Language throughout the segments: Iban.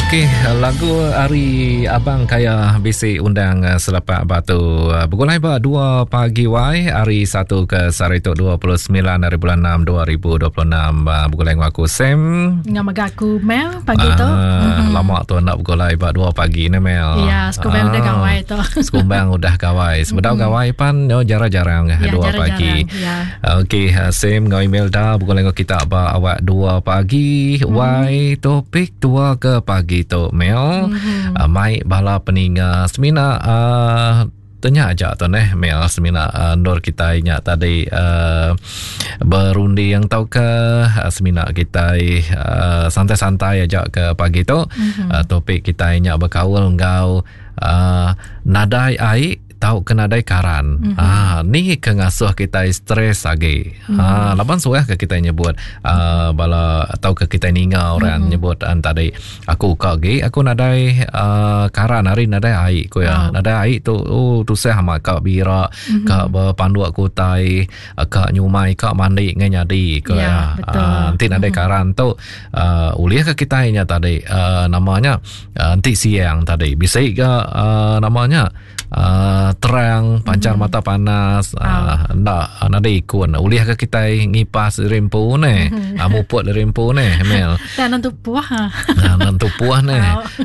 Okey, lagu ari Abang Kaya bisi undang eh, selepak batu. Eh, begulai ba 2 pagi wai hari 1 ke sehari tu 29 hari bulan 6 2026. Eh, begulai dengan aku Sam. Dengan mega aku Mel pagi tu. Ah, Lama tu nak begulai ba 2 pagi ni Mel. Ya, sekumbang udah gawai tu. Sekumbang udah gawai. Sebedau gawai pan yo jarang-jarang Ya, 2 jarang-jarang, pagi. ya. Okey, eh, Sam ngau Imelda begulai dengan kita ba awak 2 pagi. Mm. Wai topik tua ke pagi tu Mel. Mm-hmm. Uh, mai bala peninga semina uh, tanya aja tu neh Mel semina uh, nur kita nya tadi uh, berunding tau ke uh, semina kita uh, santai-santai aja ke pagi tu. Mm-hmm. Uh, topik kita nya berkaul enggau uh, nadai ai tau ke nadai karan. Mm -hmm. Ah ni ke ngasuh kita stres agi. Mm -hmm. Ah laban suah ke kita nyebut uh, bala atau ke kita ninga orang mm -hmm. nyebut an tadi aku ka agi aku nadai uh, karan hari nadai ai ku ya. Oh. Nadai ai tu oh tusah amat ka bira mm -hmm. ka bepanduk kutai ka nyumai ka mandi ngai nyadi ku ya. ya. Ah enti nadai mm -hmm. karan tu uh, ulih ke kita nya tadi uh, namanya uh, enti siang tadi bisi ke uh, namanya uh, terang pancar mm. mata panas uh, nda nadai ikun ulih ke kitai ngipas diri empu ne mm. uh, muput diri empu ne Mel tang nentu puah ha uh, nentu puah ne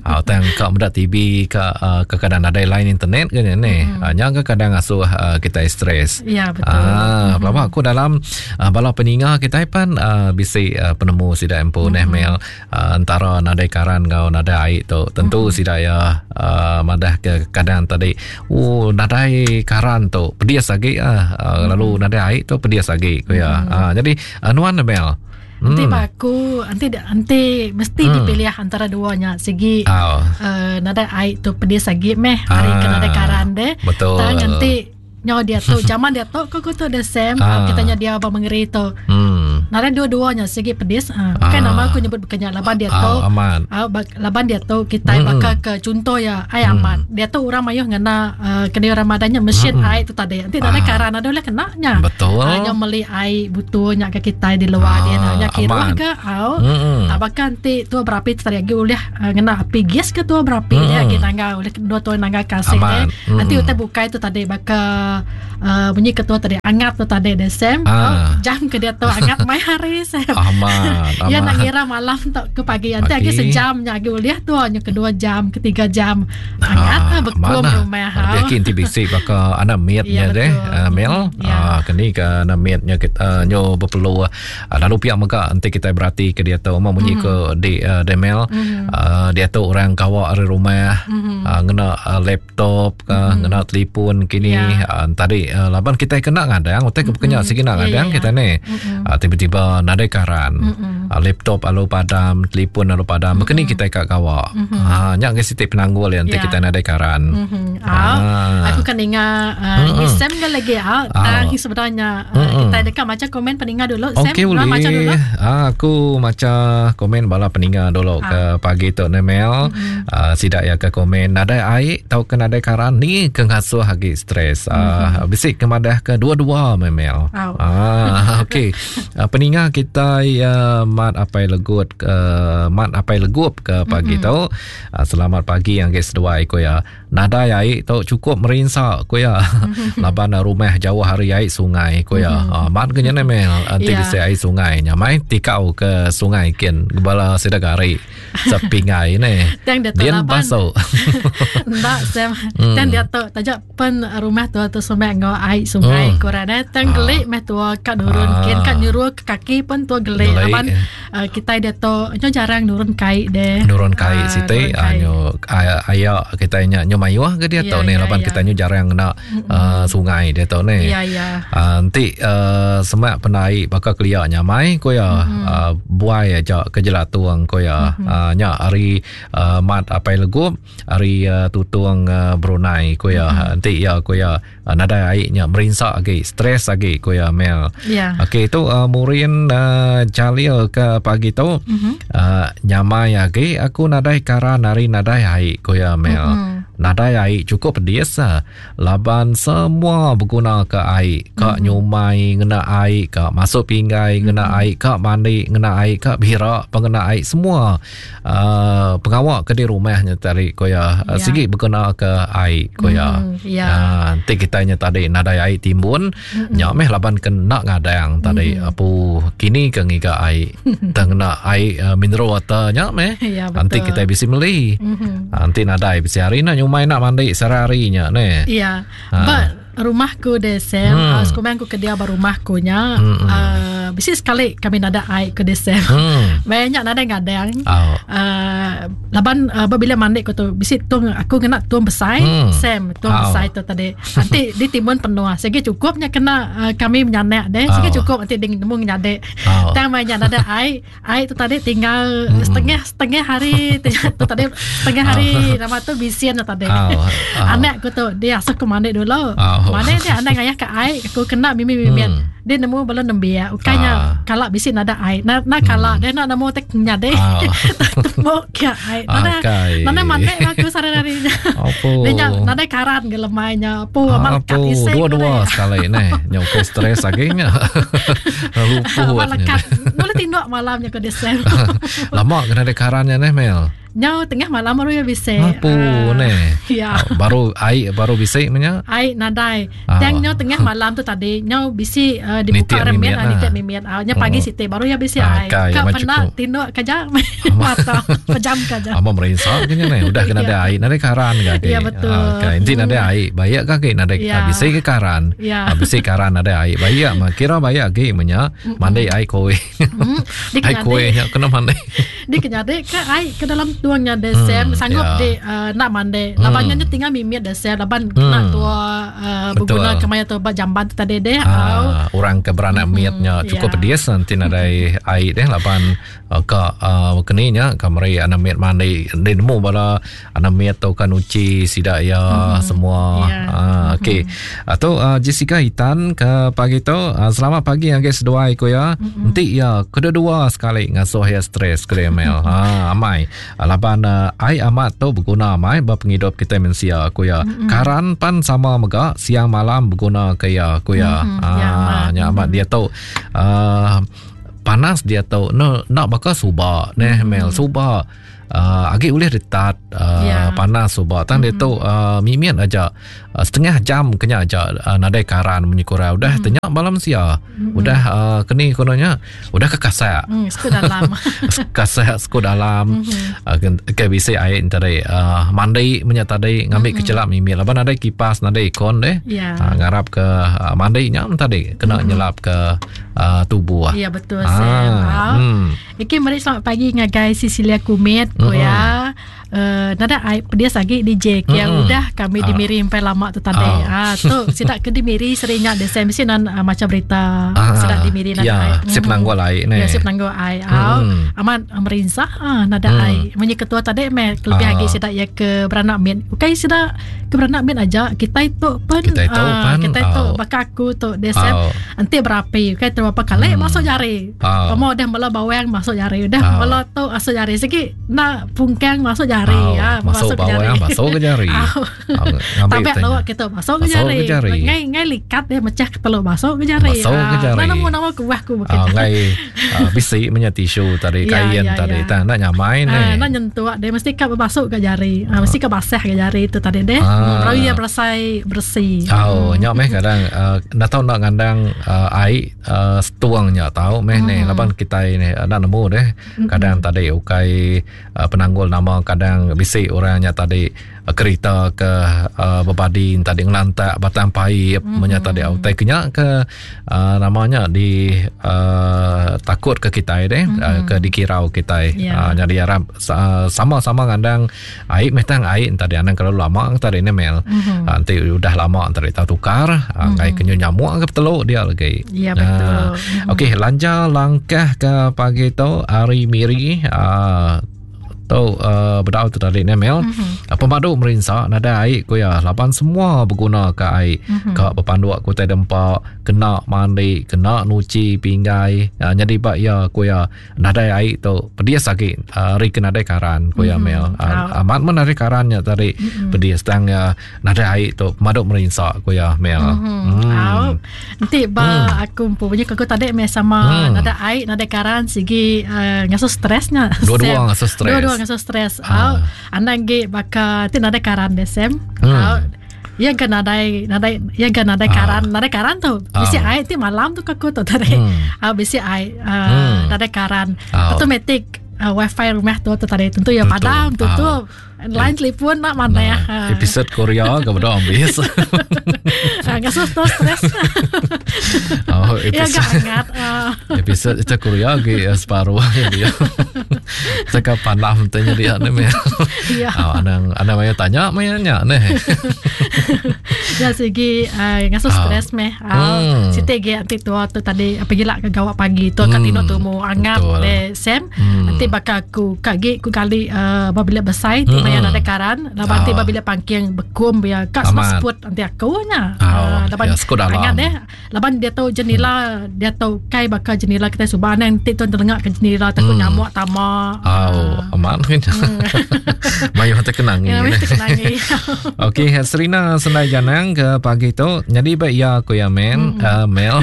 uh, tang ka meda TV ka uh, kadang nadai line internet ke ne mm. uh, nya ke kadang asuh uh, kitai stres ya betul ah uh, mm. aku dalam uh, bala peninga kitai pan uh, bisi uh, penemu sida empu mm. neh Mel uh, entara nadai karan enggau nadai ai tu tentu mm-hmm. sida ya uh, madah ke kadang tadi oh nadai karan tu pedis agi ah uh, mm-hmm. lalu nadai ai tu pedis agi ku ya mm-hmm. uh, jadi uh, nuan Mel Nanti hmm. aku nanti nanti mesti hmm. dipilih antara duanya segi oh. uh, nadai ai tu pedis lagi meh hari ah, ke nadai karan deh. Betul. Tang nanti Nyo dia tu zaman dia tu ko tu the same ah. kita nya dia ba mengeri tu. Hmm. Nare dua-duanya sigi pedis. Ah. Bukan ah. nama aku nyebut bukannya laban dia tu. Ah, aman. Ah, laban dia tu kita hmm. baka ke contoh ya ai hmm. aman. Dia tu orang mayuh ngena uh, kena Ramadannya mesin hmm. ai tu tadi. Nanti ah. karan ada boleh kena nya. Betul. Ah, nya meli ai butuh nya ke kita di luar ah, dia nya kira ke au. Hmm. Tak baka nanti tu berapi tu tadi lagi ulih uh, ngena api gas ke tu berapi hmm. dia lagi nangga ulih dua tu nangga kasih dia. Hmm. Nanti utai bukai tu tadi baka uh, bunyi ketua tadi angat tu tadi deh Sam. Ah. Oh, jam ke dia tu angat mai hari Sam. Amat. Ya nak ngira malam tu ke pagi nanti lagi sejam nya lagi ulih tu nya kedua jam ketiga jam angat ah, bekum rumah. Ha. Lebih kin ti bisi baka anak miat nya ya, deh uh, Mel. Ya. Ah kini ke anak miat nya kita uh, nyo berperlu Uh, lalu pihak mega enti kita berati ke dia tu mau munyi mm. ke di uh, Demel mm. uh, dia tu orang kawa ari rumah mm. uh, ngena uh, laptop ke mm. ngena telefon kini yeah. uh, tadi uh, laban kita kena ngadang utai ke kena mm. sigi nak ngadang yeah, yeah. kita ni mm. uh, tiba-tiba nadai karan mm. uh, laptop alu padam telefon alu padam mm. begini kita kat kawa mm. uh, nya ke siti penanggul yang yeah. kita nadai karan mm-hmm. uh, aku kan ingat uh, mm-hmm. Sam kan lagi ah uh, tang sebenarnya uh, mm-hmm. kita dekat macam komen peninga dulu Sam okay, boleh. Baca dulu ah, aku maca komen bala peninga dulu ah. ke pagi tu Nemel mm-hmm. ah, sidak ya ke komen nadai ai tau ke nadai karan ni ke ngasuh agi stres ah, mm-hmm. bisik ke madah ke dua-dua Memel oh. ah, okey ah, peninga kita ya mat apai legut ke mat apai legup ke pagi mm-hmm. tu ah, selamat pagi yang ke seduai ko ya Nadai ai tu cukup merinsa ku iya. Laban rumah jauh ari ai sungai ku iya. Mm-hmm. Amat ke nya meh enti yeah. bisi ai sungai nya mai tikau ke sungai kin bala sida gari sepingai ne. Tang dia tu laban. Baso. Enda sem. Mm. Tang dia tu taja pen rumah tu tu semak enggau ai sungai mm. ku ra ne. Tang gelik meh tua ka nurun ah. kin ka nyuruh ke kaki pun tua gelik laban Uh, kitai diatu nyo jarang nurun kai deh. Nurun kai uh, siti uh, nyo aya kitai nya nyo mayuh ke diatu yeah, ni yeah, laban yeah. kitai nyo jarang ngena uh, sungai diatu ni. Ya yeah, ya. Yeah. Uh, enti uh, semak pendai baka kelia nyamai ko ya mm-hmm. uh, buai aja ke jelatung ko ya. Mm-hmm. Uh, nya ari uh, mat apai legup ari uh, tutung uh, Brunei ko ya. Mm-hmm. Enti ya ko ya Uh, nadai ai nya merinsa agi, stres agi ku iya Mel. Yeah. Okey tu uh, Murin uh, Jalil ke pagi tu mm-hmm. uh, nyamai agi aku nadai karan ari nadai ai ku iya Mel. Mm-hmm. Nadai ai cukup pedis laban semua beguna ke ai ka mm-hmm. nyumai ngena ai ka masuk pinggai ngena mm-hmm. ai ka mandi ngena ai ka bira pengena ai semua uh, pengawa ke di rumahnya tadi ko ya yeah. sigi beguna ke ai ko ya mm, yeah. uh, enti kita nya tadi nadai ai timbun mm-hmm. nya meh laban kena ngadang tadi mm-hmm. apu kini ke ngiga ai tang ngena ai uh, mineral water nya meh ya, enti kita bisi meli mm-hmm. enti nadai bisi hari nak nyumai nak mandi sehari nya ne ya ha. but rumah ku de Sam hmm. uh, sekumang ku ke dia ba rumah ku nya hmm. uh, bisi sekali kami nada ai ke de Sam hmm. banyak nada ngadang oh. uh, laban uh, bila mandi ku tu bisi tung aku kena tung besai hmm. Sam tung oh. besai tu tadi nanti di timbun penuh segi cukupnya kena uh, kami menyanak deh segi oh. cukup nanti ding nemu nyadek Oh. Tang maya nya nadai ai, ai tu tadi tinggal mm. setengah setengah hari tu tadi setengah hari oh. nama tu bisian tu tadi. Oh. Oh. Anak ku tu dia asuh ku mandi dulu. Oh. Mandi dia anak ngayah ke ai, aku kena mimi-mimi. Mm. Dia nemu bala nembiak. Ukainya ah. kala bisi nada ai. Na, na kala mm. dia nak nemu tek nyade. Oh. Temu ke ai. Nada nada mandi aku sehari-hari. Dia nya nadai karan ke lemai nya. Apu amat lekat isik. Dua-dua sekali neh. Nyau ke stres agi nya. Luput. Amat lekat. Boleh tinduk malam nya ke desem. Lama kena ada karan nya neh Mel. Nyau tengah malam baru ya bisi. Apu uh, neh. Ya. Baru ai baru bisi menya. Ai nadai. Ah. Tang nyau tengah malam tu tadi nyau bisi uh, dibuka remit lah nitik mimit. Uh, nya pagi oh. siti baru ya bisi ah, ai. Ka pernah tinduk kaja mata pejam kaja. Ama merinsa kenya neh. Udah kena ada ai nadai karan ke agi. Ya betul. Ah, okay. Enti nadai ai bayak ke agi nadai ya. bisi ke karan. Ya. Bisi karan nadai ai bayak mah kira bayak agi menya mandi ai koi. Mm. Ai koi nya kena mandi. Di kenya de ke ai ke dalam tuang nya de sem sanggup ya. de uh, nak mandi. Laban nya tinggal mimit de sem laban kena tua uh, beguna kemaya tu ba jamban tu tadi deh. Ah, orang ke beranak mit nya cukup pedis nanti nadai ai deh laban Ka keni nya ka meri anak mit mandi enda nemu bala anak mit tu ka nuchi sida iya mm-hmm. semua. Yeah. Uh, okey. Mm-hmm. Tu uh, Jessica Hitan ke pagi tu uh, selamat pagi ngagai seduai ku ya. Mm-hmm. Enti iya kedua-dua sekali ngasuh iya stres ke email. Ha amai. Laban uh, ai amat tu beguna amai ba pengidup kita mensia ku ya. Mm-hmm. Karan pan sama mega siang malam beguna ke iya ku ya. Mm-hmm. Ha nya amat mm-hmm. dia tu uh, panas diatu ne enda baka suba neh mm. Mel suba uh, agi ulih detat uh, yeah. panas suba tang mm. diatu uh, mimit aja uh, setengah jam kenya aja uh, nadai karan munyi kurang udah mm. tenya malam sia mm. udah uh, keni kononya udah ke kasak mm, sku dalam kasak sku dalam mm-hmm. uh, ke bisi ai tadi uh, mandi menya tadi ngambi mm-hmm. kecelap mimit laban nadai kipas nadai aircon deh yeah. uh, ngarap ke uh, mandi nya tadi kena mm-hmm. nyelap ke uh, tubuh. Ya betul ah, Sam. Ah. Hmm. Okey mari selamat pagi ngagai Cecilia Kumit ko hmm. ya. Uh, nada ai pedis agi DJ mm. yang udah kami ah. di Miri sampai lama tu tadi. Ah, ah tu sidak ke di Miri serinya de Sam mesti nan uh, macam berita ah, sidak di Miri nada ya, ai. Sip penanggul ai ne. Ya sip penanggul ai. Ah, mm. amat merinsa ah nada mm. ai. Munyi ketua tadi meh lebih ah. agi sidak ya ke beranak mit. Ukai sidak ke beranak mit aja kita itu pun kita itu uh, pan kita itu oh. baka aku tu desem oh. enti berapi okay terberapa kali hmm. masuk jari oh. Pama udah mula bawang masuk jari udah oh. mula tu masuk jari segi nak pungkang masuk jari oh. ya, masuk, masuk bawang ke jari. masuk ke jari oh. Tabek lawak kita masuk ke jari. jari. Ngai ngai likat dia mecah ke telur masuk ke jari. Masuk ke jari. Mana mau nama kuah ku begitu. Ah, ngai uh, bisi menya tisu tadi ya, kain ya, tadi. Ya. Tak nak nyamai ni. Ah, nak nyentuh dia mesti ka masuk ke jari. Ah, mesti ka basah ke jari tu tadi deh. Ah. Baru ia berasai bersih. Oh, nya meh kadang uh, nak tahu nak ngandang uh, ai uh, setuang nya tahu meh hmm. ni laban kita ni nak nemu deh. Kadang tadi ukai uh, penanggul nama kadang bisi orang nya tadi uh, kerita ke uh, bebadi tadi ngelantak batang paip mm-hmm. menya tadi utai kenya ke uh, namanya di uh, takut ke kita deh mm-hmm. uh, ke dikirau kita yeah. uh, jadi harap uh, sama-sama ngandang ai meh tang ai tadi anang kalau lama tadi ni mel mm-hmm. uh, nanti udah lama tadi tahu tukar uh, mm-hmm. ngai kenyu nyamuk ke teluk dia lagi ya yeah, betul uh, mm-hmm. okey lanja langkah ke pagi tu hari miri uh, tu uh, bedau tu tadi ni Mel. Mm-hmm. Pemadu merinsa nadai ai ku iya laban semua beguna ka ai mm-hmm. ka bepanduk ku tai dempa kena mandi kena nuchi pinggai uh, nyadi ba iya ku iya nadai ai tu pedis agi uh, ari ke nadai karan ku iya mm-hmm. Mel uh, amat men ari karan nya tadi mm-hmm. pedis tang uh, nadai ai tu pemadu merinsa ku iya Mel mm-hmm. mm. Au. Enti ba mm. aku empu punya aku tadi meh sama mm. nadai ai nadai karan sigi uh, ngasuh stres nya. Dua-dua ngasuh stres. Dua-dua ngasuh stres. Ha. Au. Anang gi baka ti nadai karan deh Sam. Hmm. Au. Iya ga nadai nadai iya ga nadai ah. karan, nadai karan tu. Bisi ah. ai ti malam tu aku tu tadi. Hmm. Ah bisi ai uh, hmm. nadai karan. Ah. Automatic uh, wifi rumah tu tu tadi tentu ya padam tutup. Ah. Line telefon nak mana ya. Nah, episode Korea ke beda ambis. Ah, ngasuh tu stres. Oh, episode. Ya, hangat. Episode itu Korea ke separuh ya dia. Saka panam tanya dia ni meh. Ya. Oh, anang anang maya tanya maya nya neh. Ya sigi uh, ngasuh ah. stres meh. Uh, hmm. Siti ge anti tua tu tadi apa gila ke gawak pagi tu hmm. kat tinduk tumu angat le Sam. Hmm. Nanti bakal aku kak gi ku kali uh, ba bilik besai ti hmm. maya nadai karan laban ti ba bilik pangking bekum biar kak semua seput anti aku nya. Oh, uh, laban ya, angat deh. Laban dia tu jenila hmm. dia tu kai baka jenila kita suba nang ti tu telengak ke jenila takut hmm. nyamuk tama. Oh, uh. amat kan. Hmm. Mayuh terkenangi. Ya, terkenangi. Okey, Serina Senai Janang ke pagi tu. Jadi baik ya aku ya men, hmm. uh, Mel.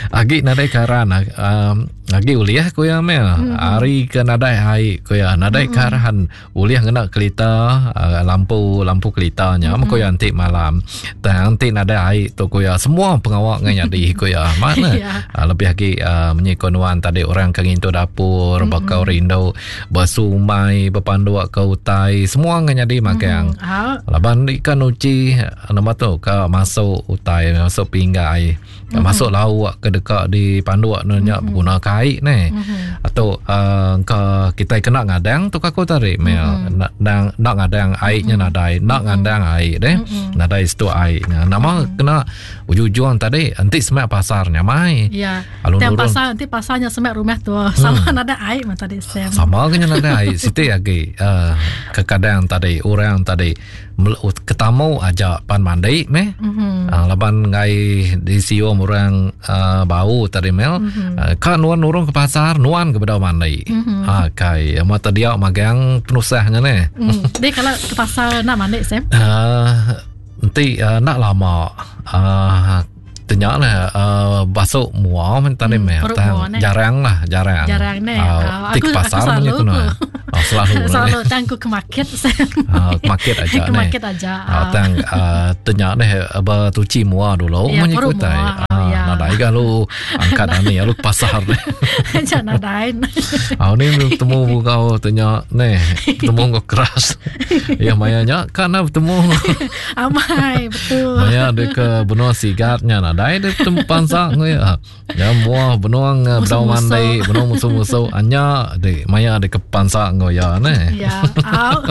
Agi nadai karan um, agi ulih aku ya Mel. Hmm. Hari ke nadai ai ku ya, nadai hmm. karan. Ulih ngena kelita uh, lampu lampu kelita nya mm-hmm. ku ya enti malam. Tang enti nadai ai tu ku ya semua pengawa ngai nyadi ku ya. Mana yeah. uh, lebih agi uh, munyi ku nuan tadi orang ke ngintu dapur mm-hmm. baka rindu besumai bepanduk ke utai semua ngai nyadi magang. Mm-hmm. Laban ikan uji nama tu ka masuk utai masuk pinggai. Mm-hmm. Masuk lauk ke deka dipanduk ne nya mm-hmm. beguna ke ai ne. Mm-hmm. Atau uh, ke kita kena ngadang tu aku tadi mel mm-hmm. nak nak, nak ngadang ai nya mm-hmm. nadai, nak mm-hmm. ngadang ai deh. Mm-hmm. Nadai situ ai nya. Nama mm-hmm. kena ujung-ujung tadi enti semak pasar nya mai. Ya. Lalu Tiap pasar enti pasarnya semak rumah tu hmm. sama nadai ai mah tadi Sam. Sama ke nya nadai ai siti agi uh, kekadang tadi orang tadi Ketamu aja pan mandi meh. Mm-hmm. Uh, laban ngai disium orang uh, bau tadi mel. Mm-hmm. Uh, ka nuan nurung ke pasar, nuan ke bedau mandi. Mm-hmm. Ha kai, mata dia magang penusahnya ne. Mm. Dia kalau ke pasar nak mandi Sam? Uh, enti uh, nak lama uh, Tanya lah uh, basuk mua men tadi hmm, meh. Tang jarang lah, jarang. Jarang ne. Uh, uh, aku, pasar aku selalu ku. Oh, selalu. selalu tang ku ke market. uh, ke market aja ke market aja. Uh, tang uh, tanya neh bertuci mua dulu ya, munyi ku tai. Uh, ya. Nadai ga lu angkat ani lu ke pasar neh. Ja nadai. Ah ni betemu kau tanya neh, betemu kau keras. Ya maya nya kan nak betemu. Amai betul. Maya dia ke benua sigat nya nadai dia betemu pansa ngui. Ya mua benua bedau mandi, benua musuh-musuh anya di maya dia ke pansa ngui ya ne. Ya. Au.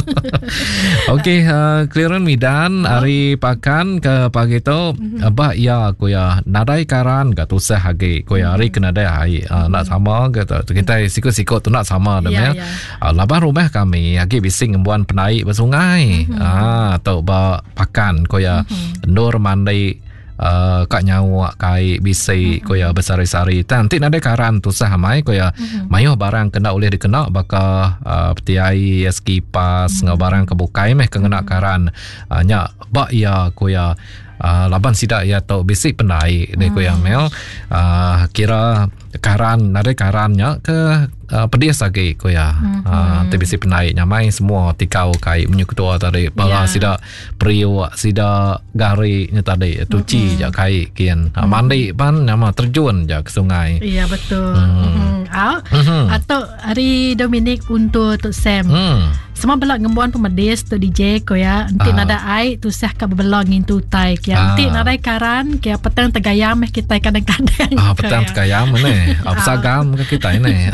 Okey, uh, clearance midan hari pakan ke pagi tu mm-hmm. ba ya ku ya nadai karan ga tusah agi ku ya hari ke nadai ai uh, nak sama ke tu kita siku-siku tu nak sama dah ya. Uh, laban rumah kami agi bisi ngembuan penaik ba sungai. Mm-hmm. Ah tu ba pakan ko ya mm-hmm. endur mandi uh, ka nyawa kai bisi mm-hmm. ko ya besari-sari. Tang ti nadai karan tusah amai ko ya. Mm-hmm. Mayuh barang kena ulih dikena baka uh, peti ai, kipas mm-hmm. ngau barang ke bukai meh ke ngena mm-hmm. karan. Uh, nya ba iya ko ya uh, laban sida iya tu bisi pendai deh ko ya Mel. Uh, kira karan nadai karan nya ke uh, pedis agi ko ya mm-hmm. uh, ti bisi pendai nyamai semua tikau kai munyi ketua tadi bala yeah. sida periuk sida gari nya tadi tuci mm-hmm. ja kai kin uh, mandi pan nama terjun ja ke sungai ya yeah, betul mm. mm-hmm. Au. Mm-hmm. Atau hari Dominic untuk tu Sam. Mm. Sama bela ngembuan pemedis tu DJ ko ya. Enti ah. nadai ai tusah ka bebela ngintu utai kia. Ah. Enti nadai karan kia petang tegayam meh kitai kadang-kadang. Ah petang ya. tegayam ne. Ah pesagam ke kitai ne.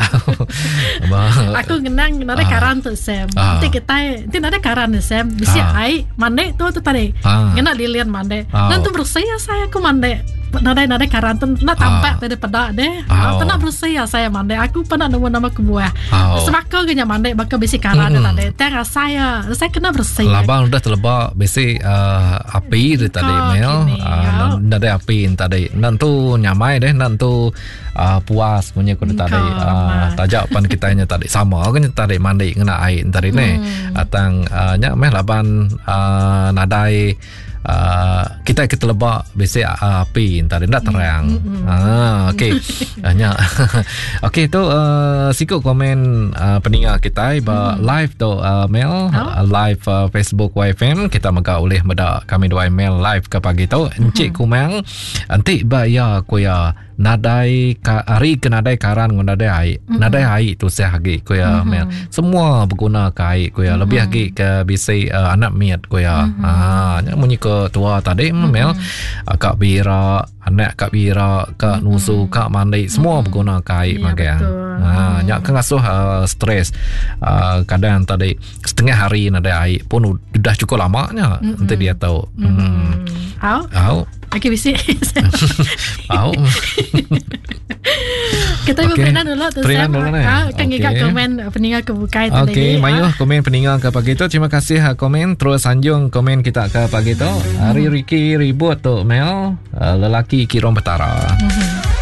Aku ngenang nadai ah. karan tu Sam. Ah. Enti kitai enti nadai karan ni Sam, bisi ah. ai mandi tu tu tadi. Ah. Ngena lilin mandi. Ah. Nan tu bersih asai aku mandi. Nadai nadai karan tu nak tampak tadi peda deh. Oh. Pernah bersih ya saya mandi. Aku pernah nemu nama kebuah. Oh. Sebaka ke nya mandi baka bisi karan mm. tadi. Tang saya saya kena bersih. Labang udah teleba bisi uh, api dia tadi mel. Uh, nadai api tadi. Nantu nyamai deh nantu uh, puas punya ku tadi. Uh, tajak pan kita nya tadi sama ke nya tadi mandi ngena air tadi mm. ni. Atang uh, nya meh laban uh, nadai Uh, kita ke teleba bisi uh, api entah enda terang. Mm-hmm. Ah okey. Nya. Okey tu uh, siku komen uh, peninga kita ba mm. live tu uh, mail oh. uh, live uh, Facebook YFM kita mega ulih meda kami dua email live ke pagi tu. Encik mm-hmm. Kumang enti ba ya ku ya nadai ka, hari ke nadai karan ngan nadai ai mm-hmm. nadai ai tusah agi ku ya mm-hmm. mel semua beguna ke ai ku ya mm-hmm. lebih agi ke bisi uh, anak miat ku ya mm-hmm. ha nya munyi ke tua tadi mm-hmm. mel uh, kak bira anak kak bira kak mm-hmm. nusu kak mandi semua mm-hmm. beguna ke ai ya, magang ha nya ke ngasuh uh, stres uh, kadang tadi setengah hari nadai ai pun udah cukup lama nya mm-hmm. enti dia tahu mm-hmm. hmm. Au. Au. Okey bisi. Au. Kita okay. Perinan dulu tu Perinan dulu ni. Ha, kan okay. komen peninga ke bukai tadi. Okey, mayuh komen peninga ke pagi tu. Terima kasih ha, komen terus sanjung komen kita ke pagi tu. Hari Ricky ribut tu Mel, uh, lelaki Kirom Petara. Mm-hmm.